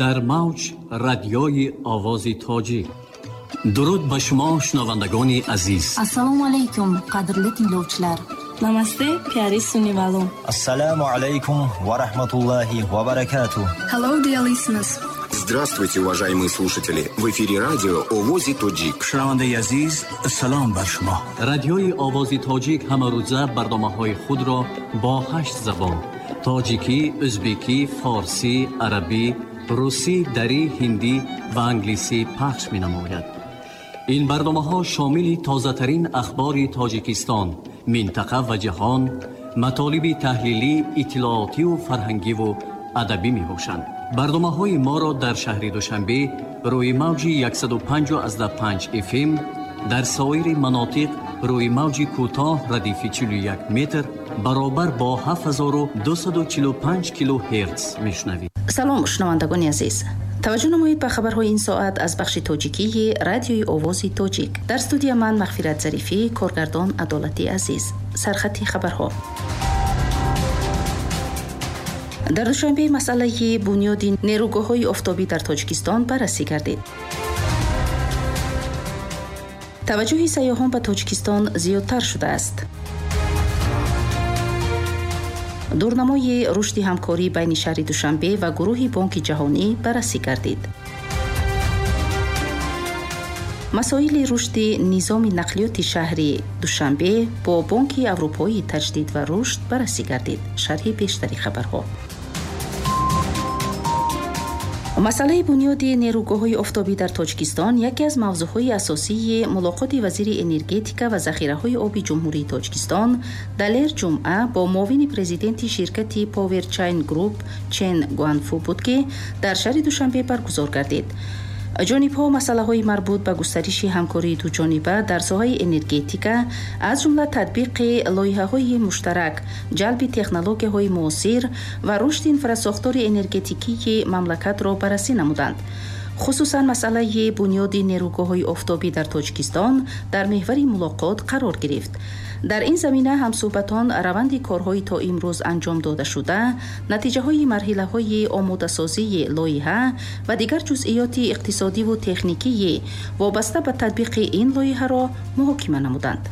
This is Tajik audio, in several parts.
Дар мавҷ радиои Овози Тоҷик. Дуруд ба шумо, шунавандагони азиз. Assalomu alaykum, qadrli tinglovchilar. Намасте, пиари сунивало. Ассаламу алайкум ва рахматуллахи ва баракатуh. Hello, dear listeners. Здравствуйте, уважаемые слушатели! В эфире радио Овози Тоҷик. Шунавандаи азиз, салом бар шумо. Радиои Овози Тоҷик ҳамарӯза барномаҳои худро бо 8 забон: тоҷикӣ, ӯзбекӣ, форсӣ, арабӣ, русӣ, дарӣ, ҳиндӣ ва англисӣ пахш менамояд. Ин барномаҳо шомили тозатарин ахбори Тоҷикистон, минтақа ва ҷаҳон, матолиби таҳлилӣ, иттилоотиву фарҳангиву адабӣ мебошанд. Барномаҳои моро дар шаҳри Душанбе рӯи мавҷи 105,5 FM, дар соири манотиқ рӯи мавҷи кӯтоҳ радифи 41 метр баробар бо 7245 килогерц мешунавед. Салом, шунавандагони азиз. Таваҷҷӯҳ намоед ба хабарҳои ин соат аз бахши тоҷикии Радиои Овози Тоҷик. Дар студия ман Мағфират Зарифӣ, коргардон Адолати Азиз. Сархати хабарҳо. Дар Душанбе масъалаи бунёди нерӯгоҳҳои офтобӣ дар Тоҷикистон баррасӣ гардид. Таваҷҷӯҳи сайёҳон ба Тоҷикистон зиёдтар шудааст. Дурнамои рушди ҳамкорӣ байни шаҳри Душанбе ва гурӯҳи Бонки Ҷаҳонӣ баррасӣ гардид. Масоили рушди низоми нақлиёти шаҳри Душанбе бо Бонки Аврупоии таҷдид ва рушд баррасӣ гардид. Шарҳи бештари хабарҳо. Масъалаи бунёди нерӯгоҳҳои офтобӣ дар Тоҷикистон яке аз мавзӯъҳои асосии мулоқоти вазири энергетика ва захираҳои оби Ҷумҳурии Тоҷикистон Далер Ҷумъа бо муовини президенти ширкати Power Chain Group Чен Гуанфу буд, ки дар шаҳри Душанбе баргузор гардид. Ҷонибҳо масъалаҳои марбут ба густариши ҳамкории дуҷониба дар соҳаи энергетика, аз ҷумла татбиқи лоиҳаҳои муштарак, ҷалби технологияҳои муосир ва рушди инфрасохтори энергетикии мамлакатро баррасӣ намуданд. Хусусан масъалаи бунёди нерӯгоҳҳои офтобӣ дар Тоҷикистон дар меҳвари мулоқот қарор гирифт. Дар ин замина ҳамсӯҳбатон раванди корҳои то имрӯз анҷом додашуда, натиҷаҳои марҳилаҳои омодасозии лоиҳа ва дигар ҷузъиёти иқтисодиву техникии вобаста ба татбиқи ин лоиҳаро муҳокима намуданд.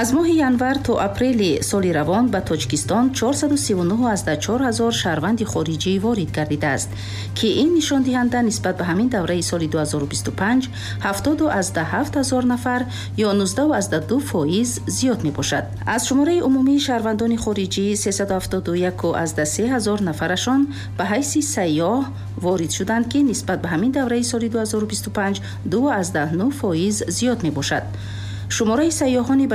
Аз моҳи январ то апрели соли равон ба Тоҷикистон 439,4 ҳазор шаҳрванди хориҷӣ ворид гардидааст, ки ин нишондиҳанда нисбат ба ҳамин давраи соли 2025 70,7 ҳазор нафар ё 19,2% зиёд мебошад. Аз шумораи умумии шаҳрвандони хориҷӣ 371,3 ҳазор нафарашон ба ҳайси сайёҳ ворид шуданд, ки нисбат ба ҳамин давраи соли 2025 2,9% зиёд мебошад. Шумораи сайёҳони ба